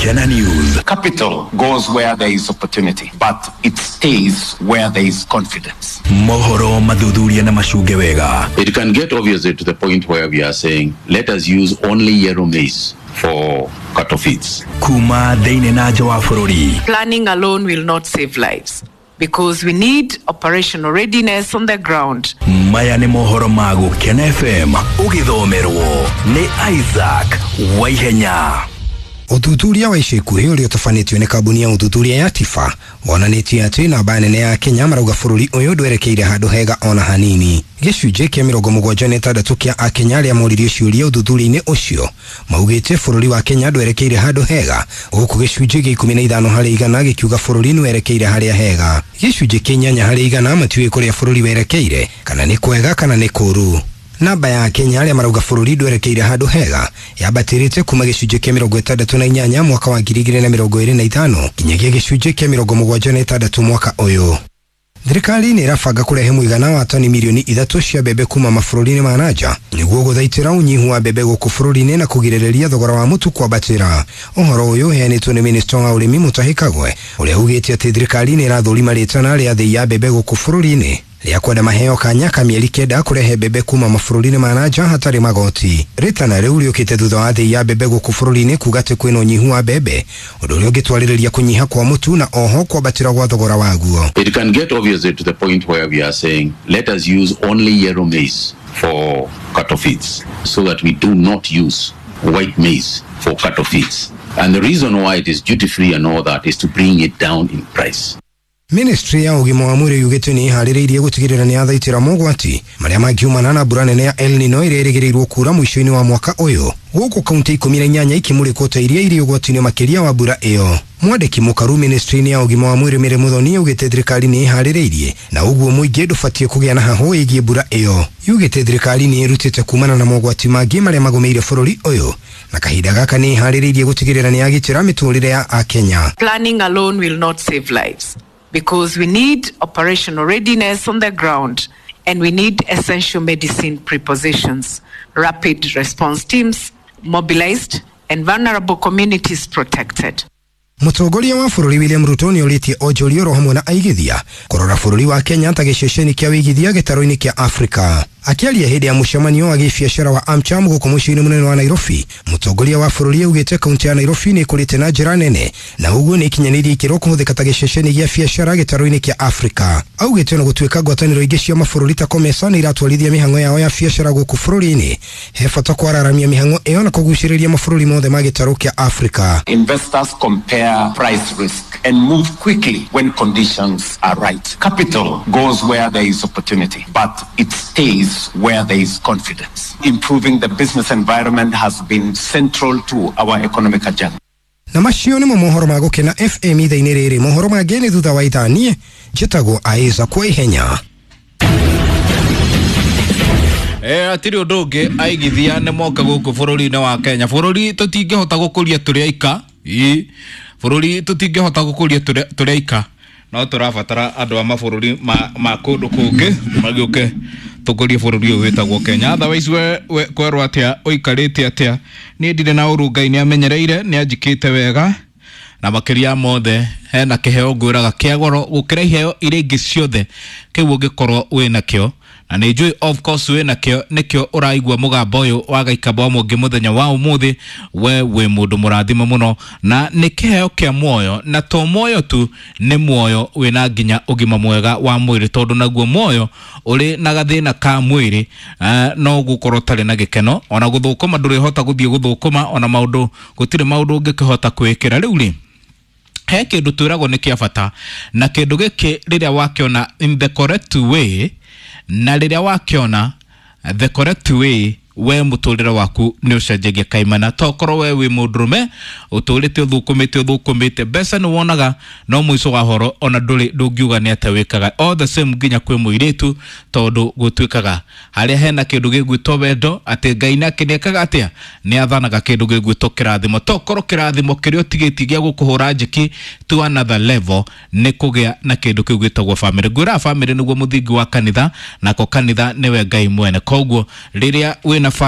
Gukena News. Capital goes where there is opportunity, but it stays where there is confidence. Mohoro mathuthuria na macunge wega. It can get obviously to the point where we are saying, let us use only yellow maize for cattle feeds. Kuma thĩinĩ na nja wa bũrũri. Planning alone will not save lives because we need operational readiness on the ground. Maya nĩ mohoro ma Gukena FM ũgĩthomerwo nĩ Isaac Waihenya. Ũthuthuria wa ica ikuhĩ ũrĩa ũtabanĩtio nĩ kambuni ya ũthuthuria ya Tifa wonanĩtie atĩ namba nene ya Kenya marauga bũrũri ũyũ ndwerekeire handũ hega ona hanini. Gĩcunjĩ kĩa 76 kĩa akenya arĩa moririo ciũria ũthuthuria-inĩ ũcio maugĩte bũrũri wa Kenya ndwerekeire handũ hega, gũkũ gĩcunjĩ gĩa 15 harĩ igana gĩkiuga bũrũri nĩwerekeire harĩa hega. Gĩcunjĩ kĩa 8 harĩ igana matiũĩ kũrĩa bũrũri werekeire, kana nĩ kwega kana nĩ kũũru. Namba ya Kenya arĩa marauga bũrũri ndwerekeire handũ hega yambatĩrĩte kuma gĩcunjĩ kĩa 68 mwaka wa 2025 nginyagia gĩcunjĩ kĩa 76 mwaka ũyũ. Thirikari nĩ ĩrabanga kũrehe mũigana wa tani milioni 3 cia mbembe kuma mabũrũri-inĩ ma nanja nĩguo gũthaitĩra ũnyihu wa mbembe gũkũ bũrũri-inĩ na kũgirĩrĩria thogora wa mũtu kwambatĩra. Ũhoro ũyũ ũheanĩtwo nĩ minista wa ũrĩmi Mutahi Kagwe ũrĩa ugĩte atĩ thirikari nĩ ĩrathũrima rĩtana rĩa thĩi ya mbembe gũkũ bũrũri-inĩ rĩa kwenda maheo kanya ka mĩeri 9 kũrehe mbembe kuma mabũrũri-inĩ ma nanja hatarĩ magoti. Rĩtana rĩu rĩũkĩte thutha wa thĩi ya mbembe gũkũ bũrũri-inĩ kuga atĩ kwĩna ũnyihu wa mbembe, ũndũ ũrĩa ũngĩtwarĩrĩria kũnyiha kwa mũtu na oho kwambatĩra gwa thogora waguo. It can get obviously to the point where we are saying, let us use only yellow maize for cattle feeds so that we do not use white maize for cattle feeds. And the reason why it is duty free and all that is to bring it down in price. Ministry ya ũgima wa mwĩrĩ yugĩte nĩ ĩharĩrĩirie gũtigĩrĩra nĩ yathaitĩra mogwati marĩa mangiumana na mbura nene ya El Nino ĩrĩa ĩrĩgĩrĩirwo kuura mũico-inĩ wa mwaka ũyũ, gũkũ kaunti 18 ikĩmũrĩkwo ta iria irĩ ũgwati-inĩ makĩria wa mbura ĩyo. Mwandĩki mũkaru ministry-inĩ ya ũgima wa mwĩrĩ Mary Muthoni augĩte thirikari nĩ ĩharĩrĩirie na ũguo mũingĩ ndũbatiĩ kũgĩa na hahũ ĩgiĩ mbura ĩyo. Yugĩte thirikari nĩ ĩrutĩte kumana na mogwati mangĩ marĩa magũmĩire bũrũri ũyũ na kahinda gaka nĩ ĩharĩrĩirie gũtigĩrĩra nĩ yagitĩra mĩtũrĩre ya Akenya. Planning alone will not save lives because we need operational readiness on the ground and we need essential medicine prepositions, rapid response teams mobilized and vulnerable communities protected. Mũtongoria wa bũrũri William Ruto nĩ orĩtie onjoria oro hamwe na aigithia kũrora bũrũri wa Kenya ta gĩceceni kĩa wĩigithia gĩtarũ-inĩ kĩa Afrika. Akĩaria hĩndĩ ya mũcemanio wa gĩbiacara wa AmCham gũkũ mũciĩ-inĩ mũnene wa Nairobi, mũtongoria wa bũrũri augĩte kaunti ya Nairobi nĩ ĩkũrĩte na njĩra nene na ũguo nĩ ĩkinyanĩirie ikĩro kũhũthĩka ta gĩceceni gĩa biacara gĩtarũ-inĩ kĩa Afrika. Augĩte ona gũtuĩka ngwatanĩro ingĩ cia mabũrũri ta COMESA nĩ iratwarithia mĩhang'o yao ya biacara gũkũ bũrũri-inĩ, he bata kwararamia mĩhang'o ĩyo na kũgucĩrĩria mabũrũri mothe ma gĩtarũ kĩa Afrika. Investors compare price risk and move quickly when conditions are right. Capital goes where there is opportunity, but it stays where there is confidence. Improving the business environment has been central to our economic agenda. Na macio nĩmo mohoro ma Gũkena FM ithaa-inĩ rĩrĩ. Mohoro mangĩ nĩ thutha wa ithaa. Niĩ njĩtagwo Isaac Waihenya. Atirĩ ũndũ ũngĩ aigithia nĩ moka gũkũ bũrũri-inĩ wa Kenya. Bũrũri tũtingĩhota gũkũria tũrĩ aika. Bũrũri tũtingĩhota gũkũria tũrĩ aika, no tũrabatara andũ a mabũrũri ma kũndũ kũngĩ magĩũke tũkũrie bũrũri ũyũ wĩtagwo Kenya. Otherwise we kwerwo atĩa, ũikarĩte atĩa? Niĩ ndirĩ na ũru, Ngai nĩ amenyereire, nĩ anjĩkĩte wega, na makĩria mothe hena kĩheo ngwĩraga kĩa goro gũkĩra iheo iria ingĩ ciothe kĩu ũngĩkorwo wĩnakĩo, na nĩ njũĩ of course wĩnakĩo, nĩkĩo ũraigua mũgambo ũyũ wa Gaikamba wa Mũngĩ mũthenya wa ũmũthĩ. We wĩ mũndũ mũrathime mũno, na nĩ kĩheo kĩa muoyo, na to muoyo tu, nĩ muoyo wĩna nginya ũgima mwega wa mwĩrĩ, tondũ naguo muoyo ũrĩ na gathĩna ka mwĩrĩ no gũkorwo ũtarĩ na gĩkeno, ona gũthũkũma ndũrĩhota gũthiĩ gũthũkũma, ona maũndũ gũtirĩ maũndũ ũngĩkĩhota kwĩkĩra. Rĩu rĩ, he kĩndũ twĩragwo nĩ kĩa bata, na kĩndũ gĩkĩ rĩrĩa wakĩona in the correct way, na rĩrĩa wakĩona the correct way, we mũtũrĩre waku nĩ ũcenjagia kaimana. Tokorwo we wĩ mũndũrũme ũtũrĩte ũthũkũmĩte ũthũkũmĩte mbeca nĩ wonaga, no mũico wa horo ona ndũrĩ ndũngiuga nĩ atĩa wĩkaga. All the same nginya kwĩ mũirĩtu, tondũ gũtuĩkaga harĩa hena kĩndũ gĩgwĩtwo wendo, atĩ Ngai nake nĩekaga atĩa, nĩ athanaga kĩndũ gĩgwĩtwo kĩrathimo. Tokorwo kĩrathimo kĩrĩa ũtigĩtie gĩa gũkũhũra njeki to another level nĩ kũgĩa na kĩndũ kĩu gĩtagwo family. Ngwĩraga family nĩguo mũthingi wa kanitha, nako kanitha nĩwe Ngai mwene. Koguo rĩrĩa wĩna